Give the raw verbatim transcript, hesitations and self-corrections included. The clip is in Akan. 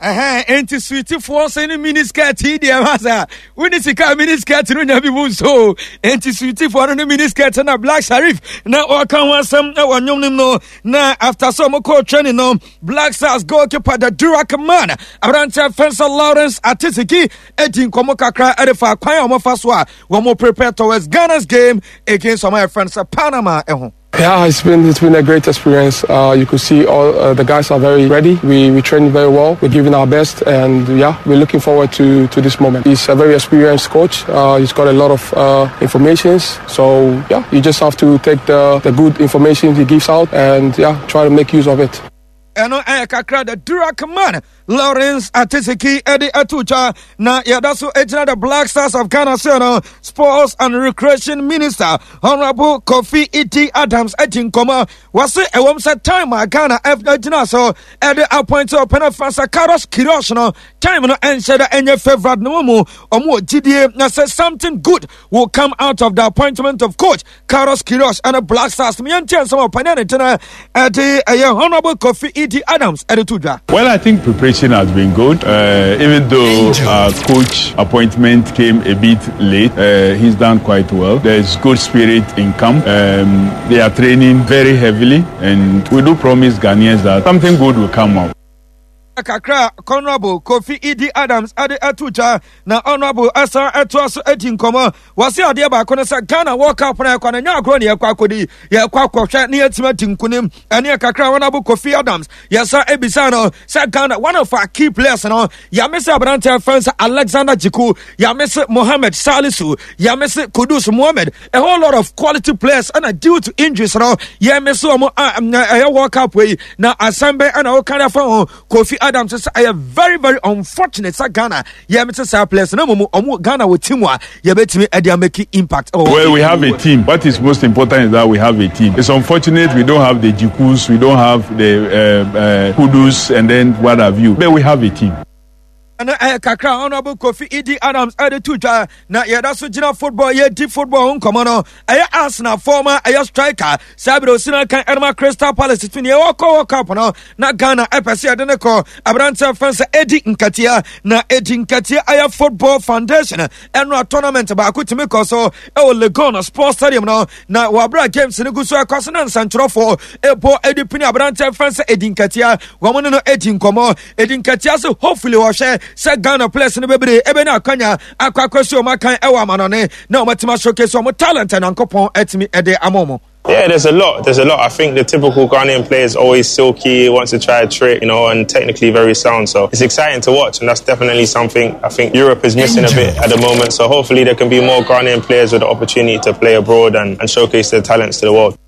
Ɛhɛn, enti suitifoɔ nso ne mini skirt yi deɛ ma sɛ wone sika mini skirt no nya bi mu nso. Enti suitifoɔ no ne mini skirt na Black Sherif na ɔka ho asɛm wɔ nnwom no mu no. Na after sɛ ɔmo kɔɔ training no, Black Stars goalkeeper, the Durak man, aberanteɛ fɛnsa Lawrence Atizigi, edi nkɔmmɔ kakra ɛde fa kwan a wɔfa so a wɔn prepare towards Ghana's game against ɔmo ayɛ fɛnsa Panama ɛho. Yeah, it's been it's been a great experience. Uh, you could see all uh, the guys are very ready. We we train very well. We're giving our best, and yeah, we're looking forward to, to this moment. He's a very experienced coach. Uh, he's got a lot of uh, informations. So yeah, you just have to take the, the good information he gives out and yeah, try to make use of it. Ɛno ɛyɛ kakra the Durak man Lawrence Atiziki ɛde ato twa. Na yɛda so gyina the Black Stars of Ghana so no, Sports and Recreation Minister Honorable Kofi Iti Adams adi nkɔmmɔ. Wɔse ɛwɔm sɛ time a Ghana gyina so ɛde appoint ɔpɛne Fransa Carlos Queiroz no, time no ɛnhyɛ da ɛnyɛ favourite no mu, ɔmo wɔ gyidie na sɛ something good will come out of the appointment of coach Carlos Queiroz ɛne Black Stars. Yɛntie nsɛm a ɔpɛne ne tena ɛde ɛyɛ Honorable Kofi E D. Adams ɛde to dwa. Well, I think preparation has been good. Uh, even though our coach appointment came a bit late, uh, he's done quite well. There's good spirit in camp. Um, they are training very heavily, and we do promise Ghanaians that something good will come out. Kakra Honorable Kofi Edi Adams ade ato twa. Na Honorable asan ɛtoa so adi nkɔmmɔ. Wɔse adeɛ baako no sɛ Ghana World Cup no ɛkɔ no, nyɛ agorɔ ne yɛkɔ akɔdi, yɛkɔ akɔhwɛ ne yɛatumi adi nkonim. Ɛne kakra Honorable Kofi Adams yɛsa ebisa no sɛ Ghana one of our key players no, yame sɛ aberanteɛ fɛn sɛ Alexander Djiku, yame sɛ Mohamed Salisu, yame sɛ Kudus Mohammed, a whole lot of quality players, ɛna due to injuries no yɛme sɛ ɔmo a ɛyɛ World Cup yi na asɛm bɛn ɛna wɔka afa ho? Kofi Adams sɛ ɛyɛ very very unfortunate sɛ Ghana yɛme sɛ saa players na mmom ɔmo Ghana wɔ team a yɛbɛtumi ɛde amake impact. Well, we have a team. What is most important is that we have a team. It's unfortunate we don't have the Djikus, we don't have the uh, uh, Kudus, and then what have you. But we have a team. Ɛno ɛyɛ kakra Honorable Kofi Edi Adams ɛde to dwa. Na yɛda so gyina football, yɛdi football ho nkɔmmɔ no, ɛyɛ Arsenal former ɛyɛ striker saa bere osina kan ɛnoma Crystal Palace tumi ɛwɔ kɔ World Cup no na Ghana ɛpɛ sɛ yɛde ne kɔ, aberanteɛ fɛn sɛ Eddie Nketiah. Na Eddie Nketiah ɛyɛ Football Foundation ɛno a tournament baako tumi kɔ so ɛwɔ Legon Sports Stadium no, na wɔabra games no gu so ɛkɔ so na nsɛntwerɛfoɔ ɛbɔ ɛde pini aberanteɛ fɛn sɛ Eddie Nketiah, wɔn ne no ɛdi nkɔmmɔ. Eddie Nketiah so hopefully wɔhwɛ sɛ Ghana players no bebree ɛbɛnya akwanya akɔ akɔsi wɔn akan ɛwɔ amanɔne na wɔn atumi showcase wɔn talent a Nyankopɔn atumi ɛde ama wɔn. Yeah, there's a lot. There's a lot. I think the typical Ghanaian player is always silky, wants to try a trick, you know, and technically very sound. So it's exciting to watch, and that's definitely something I think Europe is missing a bit at the moment. So hopefully there can be more Ghanaian players with the opportunity to play abroad and, and showcase their talents to the world.